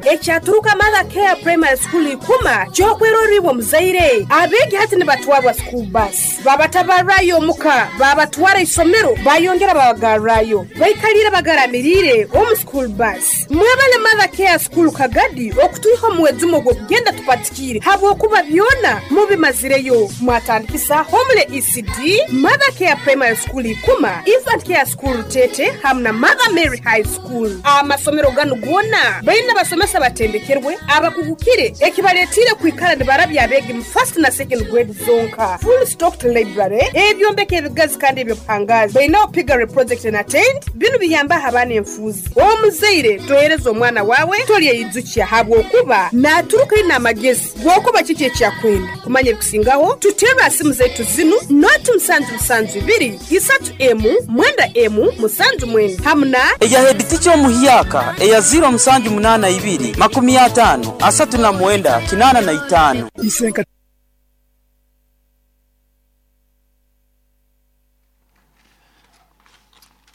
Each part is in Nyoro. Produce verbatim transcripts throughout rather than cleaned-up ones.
Ekyaturuka Mother Care Primary School ikuma kyokweroribwa muzaire. Abegi hati nibatwarwa school bus. Babatabarayo muka, babatwara isomero, bayongera babagarrayo. Baikalira bagaramirire omu school bus. Mwebale Mother Care School Kagadi okutuiha omwezi ogwo kugenda tupatikire. Habwokuba byona mubimazireyo. Mwatandikisa Homele E C D, Mother Care Primary School ikuma, Infant Care School Tete, hamna Mother Mary High School. Amasomero ganu gona baina basomesa batendekerwe abakugukire ekibaletire kwikala nibarabya abegi mu first na second grade zonka. Full stocked library, ebyombeko ebigazi kandi ebyobuhangazi. Baina Piggery project and attend binu biyamba abaana enfuzi. Omuzaire tohereza omwana wawe tolyeyizukia habwokuba naturuka ina amagezi gwokuba kiki ekyakwenda. Kumanya ebikusingaho tutera simu zetu zinu noti musanju musanju ibiri isatu emu mwenda emu musanju mwenda hamna eya head teacher omuhyaka eya zero musanju munana ibiri makumi atano asatu na mwenda kinana na itano. Isenka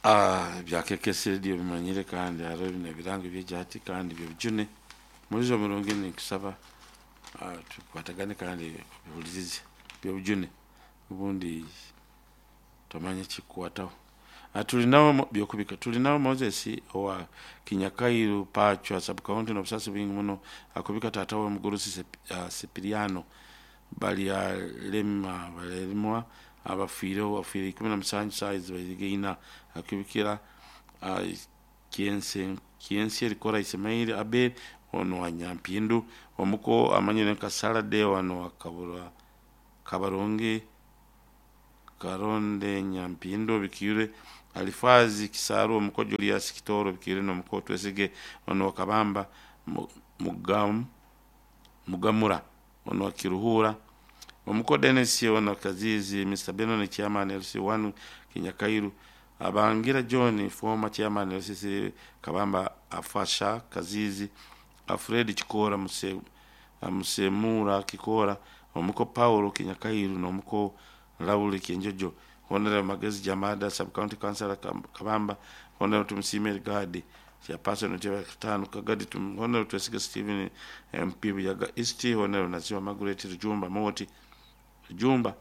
Ah, byakekese dio bimanyire kandi haro bino birango byejati kandi byobujune mulizo mulungi nikusaba ah, tukwatagane kandi bibulizize byobujune ubundi tomanye kikwataho. Tulinawo byokubika tulinawo Moses owa Kinyakairu Pachwa sub county no busasi bwingi muno akubika tata we mugurusi uh, Sipiriano bali lema balemwa abafiire abafiire ikumi na musanju size bayigeina akubikira uh, kiense kiense rikora Ismail Abel ono wa Nyampindu omuko amanyire nka Salade wano akabura Kabaronge Karonde Nyampindu bikire Alifazi Kisaro omuko Julius Kitoro bikire no muko Twesige ono Kabamba Mugam Mugamura ono Kiruhura omuko Dennis ono Kazizi Mister Benon chairman L C one Kinyakairu Abangira John former chairman L C C Kabamba Afasha Kazizi Alfred Chikora Muse Musemura Kikora omuko Paulo Kinyakairu no muko Raul Kinjojo Honorable Magezi Jamada sub county councilor Kabamba Honorable Tumsime Gadi chairperson Ntebe Katano Kagadi tum Honorable Twesige Stephen M P Buyaga East Honorable Naziwa Margaret Jumba Moti Jumba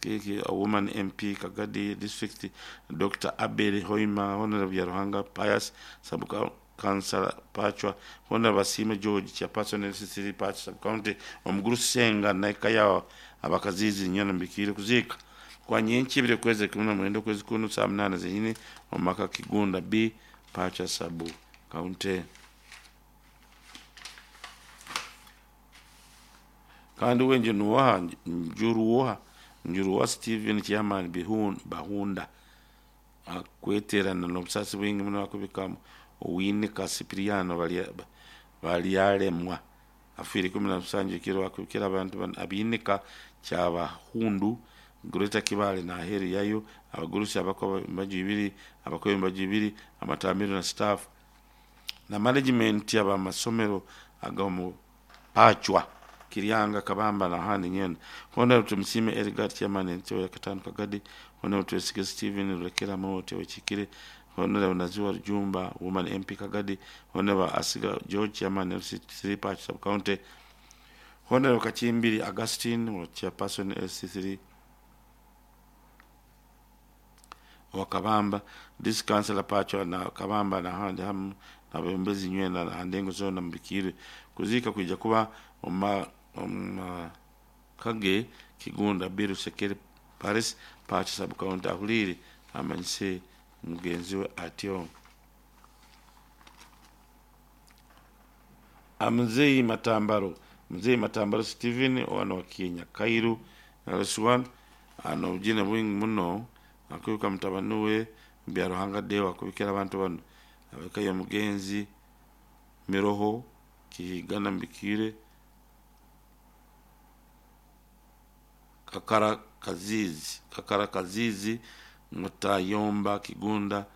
Kiki a woman M P Kagadi district Doctor Abel Hoima Honorable Yaruhanga Pius sub councilor Pachwa Honorable Sime George chairperson L C C Pachwa sub county Omuguru Senga Naikaya abakazizi nyana mbikire kuzika kwa nyenchi bile kweze kumuna mwendo kwezi kunu saa mnane zenyine omaka Kigunda B Pacha sabu county kandi wenje nuwa njuruwa njuruwa Steven chairman bihun bahunda akweterana n'obusasi bwingi muno akubikamu Owinika Cipriano bali bali alemwa afiri kumi na musanju kiro akubikira abantu abinika kyabahundu Greater Kibale na heri yayo abagurusi abako mbaju ibiri abako mbaju ibiri amatamiro na staff na management yaba masomero agamu Pachwa Kirianga Kabamba na handi nyene Honorable Tumsime Edgar chairman Ntebe Katano Kagadi Honorable Twesige Steven Rekera Mote Wechikire Honorable Naziwa Jumba woman M P Kagadi Honorable Asiga George chairman L C three Pachwa sub county Honorable Kachimbiri Augustine chairperson L C three Wakabamba this councilor Pachwa na Kabamba na handi hamu na bembezi nywena na handengo zona mbikire kuzika kuja kuba oma oma kage Kigunda Biru Sekere Paris Pachwa sub county ahuliri amanyise mugenzi we atyo Amzei Matambaro Mzee Matambaro Steven ono wa Kinyakairu L C one ano jina bwingi muno akubika mutabanuwe Byaruhanga Deo akubikira abantu bano abakayo mugenzi Miroho Kihigana mbikire Kakara Kazizi Kakara Kazizi Mutayomba Kigunda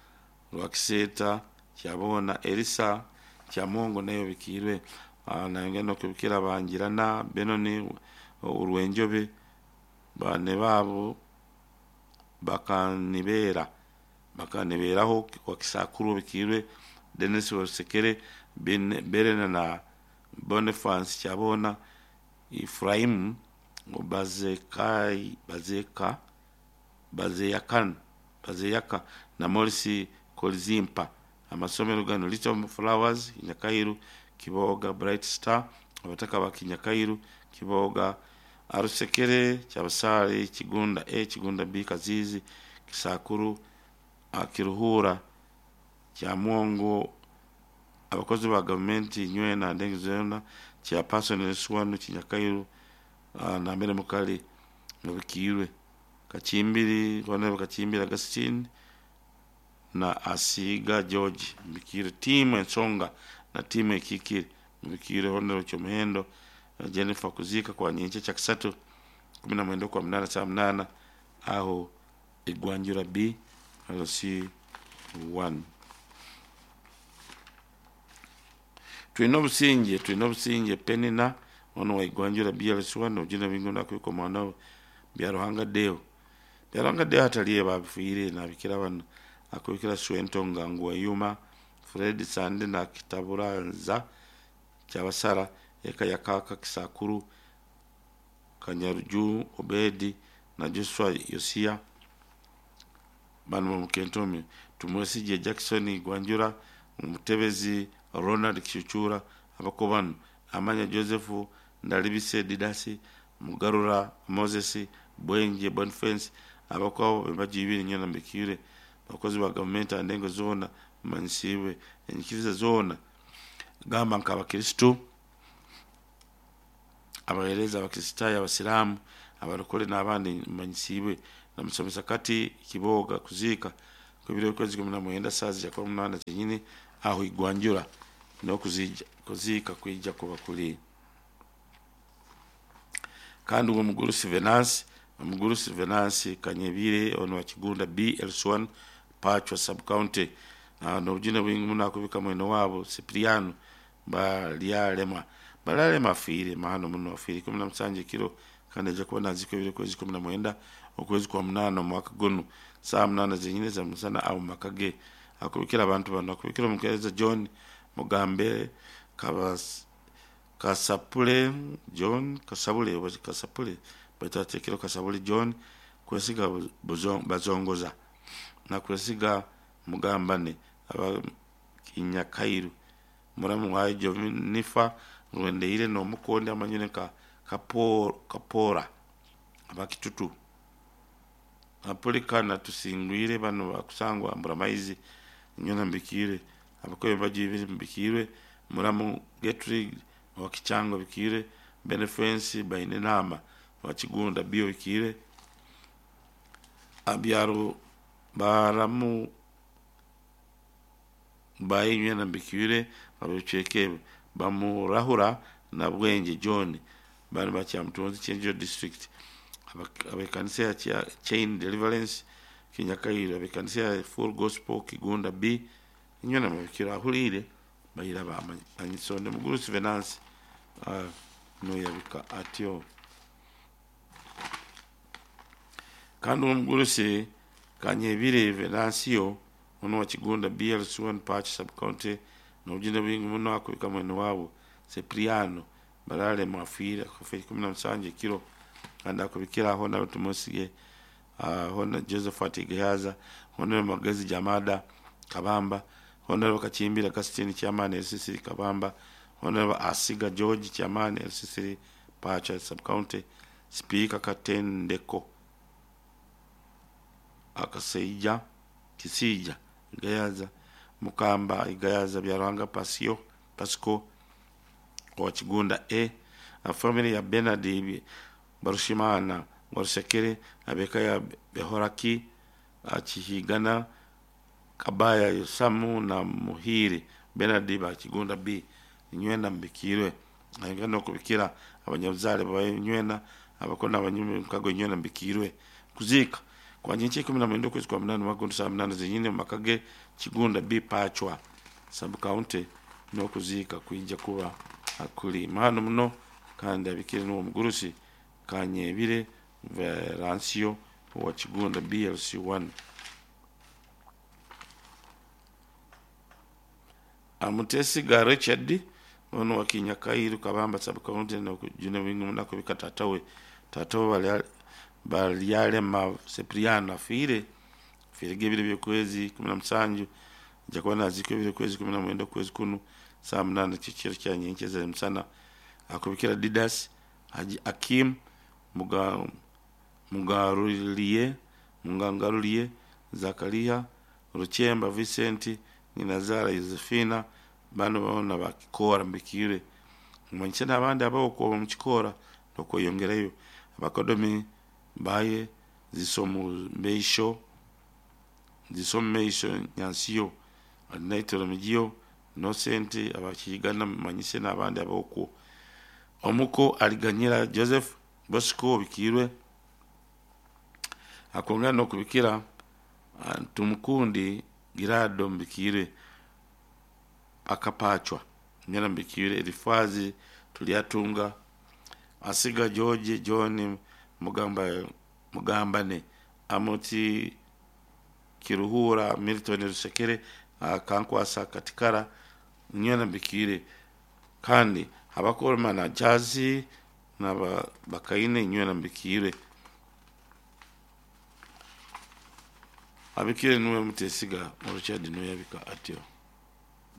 Rwakiseta Kyabona Elisa Kyamongo nayo bikirwe nangeno kubikira bangirana Benoni Urwenjobe bane babo bakanibera bakaniberaho kwa kisakuru bikirwe Dennis Osekere Berena na Boniface Kyabona Ifraimu Bazekai Bazeka Bazeyakan Bazeyaka na Morisi Kolzimpa. Amasomero gano Little Flowers Kinyakairu Kiboga, Bright Star abataka ba Kinyakairu Kiboga, Arusekere Kyabasale Kigunda A Kigunda B Kazizi Kisakuru Kiruhura Kyamwongo. Abakozi ba gavumenti nywena ndengi zona kya person Suwanu Kinyakairu na mbere mukali mubikirwe Kachimbiri wana Kachimbiri Agustine na Asiga George mbikire timu ensonga na timu ekikiri mbikire honero kyomuhendo Jennifer kuzika kwa nyenche cha kisatu kumi na mwenda kwa mnana saa mnana aho Igwanjura B L C one. Twina obusinge twina obusinge Penina ono wa Igwanjura B L C one ojina bingona kwiko mwana bya Ruhanga Deo bya Ruhanga Deo ataliye babifuire na bikira bano akubikira Swento Nganguwa Yuma Fred Sande na Kitaburanza Kyabasara eka yakaka Kisakuru Kanyaruju Obedi na Joshua Yosia bano mukentome. Tumwesije Jackson Igwanjura Mutebezi Ronald Kishuchura abakobano Amanya Joseph Ndalibise Didasi Mugarura Moses Bwenje Boniface abakwabo bebajibiri nyana mbikire abakozi ba gavumenti andengo zona mansiwe enyikiriza zona gamba nka abakristo abahereza abakristayo abasilamu abarokole n'abandi manyisiwe na musomesa kati Kiboga kuzika kubiro kwezi kumi na mwenda sazi ya kumi na munana zenyine aho Igwanjura no kuzija kuzika kwijja kuba kuli. Kandi uwo mugurusi Venance omugurusi Venance Kanyebire ono wa Kigunda B L one Pachwa sub county nobujune bwingi muno akubika mwene wabo Cipriano Balyalema Balyalema afiire mahano muno afiire kumi na musanje kiro kandi aja kuba naziko ebiro kwezi kumi na mwenda okwezi kwa munana omwaka guno saa munana zenyine za musana awo makage akubikira abantu bano akubikira omukeereza John Mugambe Kabas Kasapule John Kasabule oba Kasapule batatekero Kasabule John kwesiga bazongoza na kwesiga Mugambane aba Kinyakairu muramu wa Jonifa Rwendeire no mukonde amanyune ka kapora kapora abakitutu apolikana tusingwire bano bakusangwa ambura maizi nyona mbikire abakoye bajibiri mbikire muramu Getrig wa Kichango bikire Benefensi baine nama wa Kigunda bio bikire abyaro baramu bayinywe na mbikire abiceke bamurahura na Bwenje John bari bakyamutunzi Chenjo district abekanisa ya Chain Deliverance Kinyakairo abekanisa ya Full Gospel Kigunda B inywe na mbikire ahulire bayira bamanyisonde mugurusi Venance uh, no yabika atyo. Kandi omugurusi Kanyebire Venancio ono wa Kigunda B L C one Patch sub county nobujune bwingi muno akubika mwene wabo Cipriano Balale mwafira kufa kumi na musanje kiro kandi akubikira aho n'abatumosige uh, hona Josephat Gehaza hona Magezi Jamada Kabamba hona Kachimbira Kasitini Chairman L C C Kabamba hona Asiga George Chairman L C C Patch sub county Speaker Katendeko Akaseija Kisija Gayaza Mukamba Igayaza Byaranga Pasio Pasco wa Kigunda A a family ya Bernard Barushimana Warusekere abeka ya Behoraki Achihigana Kabaya Yosamu na Muhiri Bernard ba Kigunda B nywena mbikirwe ayingana kubikira abanyabuzale banywena abakona abanyume mkago nywena mbikirwe kuzika kwa nyenche kumi na mwenda kwezi kwa munane magundu saa munane zenyine makage Kigunda B Pachwa sub county no kuzika kuija kuba akuli mahano muno kandi abikire n'uwo mugurusi Kanyebire Verancio wa Kigunda B L C one. Amutesiga Richard ono wa Kinyakairu Kabamba sub-county nokujuna wingi munakubika tatawe tatawe Balyalema Cipriano afiire afiire ebiro by'okwezi kumi na musanju nja kuba nazikwa ebiro kwezi kumi na mwenda okwezi kunu saa munana kyekiro kya nyenkyeza musana. Akubikira Didas Haji Akim Muga, Mugaruliye Mugangaruliye Zakaria Ruchemba Vincent Nyinazara Josephina bano bona bakikora mbikire mumanyise n'abandi abaokuba mukikora nokweyongerayo abakodomi baye zisomumeisho zisomumeisho nyansiyo alinaitoro migiyo Innocent abakigana mumanyise n'abandi abokwo omuko aliganyira Joseph Bosco bikirwe akongera nokubikira Tumukundi Girado mbikire akapachwa nyana mbikire Elifazi Tuliatunga Asiga George John Mugamba Mugambane Amuti Kiruhura Milton Rusekere Kankwasa Katikara nyana mbikire kandi abakoroma na Jazi na Bakaine nywena mbikire abikire nuwe Mutesiga Richard nuwe yabika atyo.